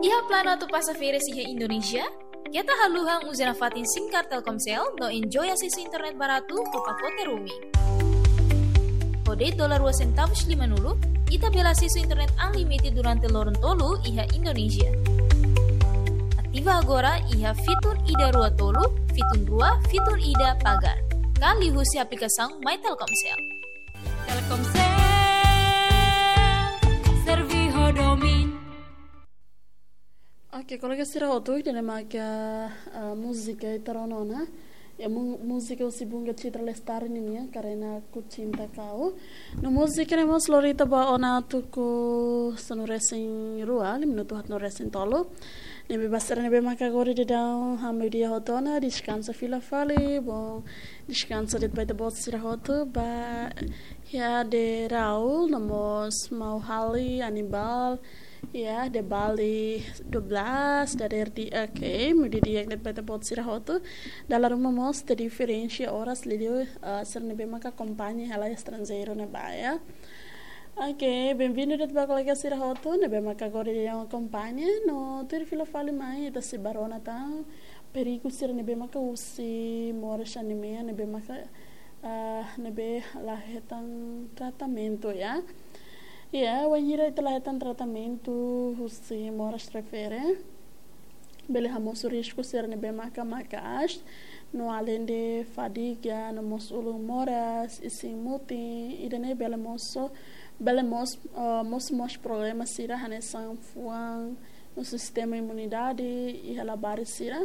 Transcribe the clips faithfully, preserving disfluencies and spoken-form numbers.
Iha planu atu pasa férias iha Indonézia? Keta haluha uza nafatin SIM card Telkomsel no enjoy asesu internet baratu ho pakote roaming. Ho de'it dolar rua sentavus lima-nulu, ita bele asesu internet unlimited durante loron tolu iha Indonézia. Ativa agora iha fitun ida rua tolu, fitun rua, fitun ida pagar. Ka liuhusi aplikasaun My Telkomsel. Telkomsel, servi ho domin. Oke, kolega sira hotu, ida-ne'e maka, ah, múzika ita rona ona. Iha mu-, múzika husi Bunga Citra Lestari nian, Karena Ku Cinta Kau. No múzika ne'e mós lori ita ba ona tuku sanulu-resin-rua, lima minutu haat no resin-tolu. Ne'ebé ba sira ne'ebé maka agora daudaun, ah, meiudia hotu ona, deskansa fila fali, bom, deskansa de'it ba ita-boot sira hotu, ba, ya, de Raul, no mós maun Hali, Anibal, ya, de Bali dua belas, dadeer di, oke, meiudia de'it ba ita-boot sira hotu. Dala ruma mós, ita diferensia oras liuliu, ah, sira ne'ebé maka akompaña hela estranjeiru ne'ebá, ya. Oke, benvindu de'it ba kolega sira hotu ne'ebé maka agora daudaun akompaña, no tuir fila fali mai, ita sei ba rona tan perigu sira ne'ebé maka husi moras sira-ne'e mean, ne'ebé maka, ah, ne'ebé la hetan tratamentu, ya. Ya, wainhira ita la hetan tratamentu husi moras refere, bele hamosu risku sira ne'ebé maka maka'as, no alende fadiga, no mós ulun moras, isin mutin, ida-ne'e bele mosu, bele mós, ah, mosu mós problema sira hanesan fuan, no sistema imunidade, iha labarik sira,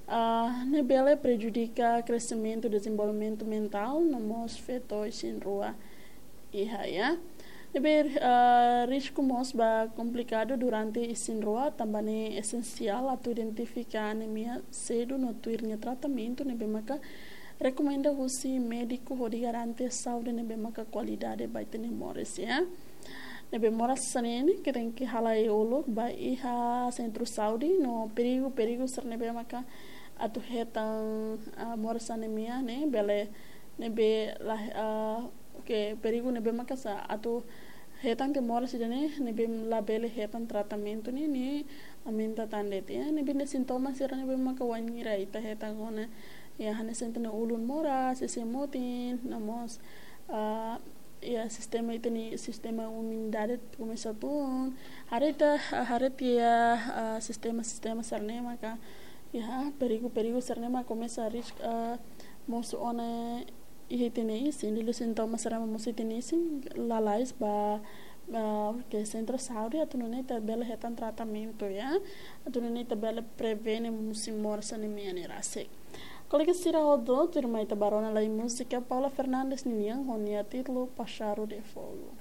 ah, ne'e bele prejudika kresimentu, dezenvolvimentu mentál, no mós feto isin-rua iha, ya. Ne'ebé, ah, risku mós ba komplikadu durante isin-rua, tanba ne'e esensiál atu identifika anemia sedu no tuir nia tratamentu, ne'ebé maka rekomenda husi médiku hodi garante saúde ne'ebé maka kualidade ba ita-nia moris, ya. Ne'ebé moras sira-ne'e, ita tenke halai uluk ba iha sentru saúde, no perigu, perigu sira ne'ebé maka atu hetan, ah, moras anemia ne'e, bele, ne'ebé la, ah, oke, perigu ne'ebé maka sa atu hetan tiha moras ida-ne'e, ne'ebé labele hetan tratamentu ne'e, ne'e aumenta tan de'it, ya. Ne'ebé ne'e sintoma sira ne'ebé maka wainhira ita hetan ona, ya, hanesan ita-nia ulun moras, isin mutin, no mós, ah, ya, sistema ita-nia, sistema imunidade komesa tun. Haree ita, haree tiha, ah, sistema, sistema sira-ne'e maka, ya, perigu, perigu sira-ne'e maka komesa risku, ah, mosu ona iha ita-nia isin, liuliu sintoma sira mosu iha ita-nia isin, lalais ba, ah, ke sentru saúde atu nune'e ita bele hetan tratamentu, ya. Atu nune'e ita bele prevene mosu moras sira-ne'e mean ne'e rasik. Kolega sira hotu, tuirmai ita ba rona lai múzika Paula Fernandes nian, ho nia títulu Páxaro de Fogo.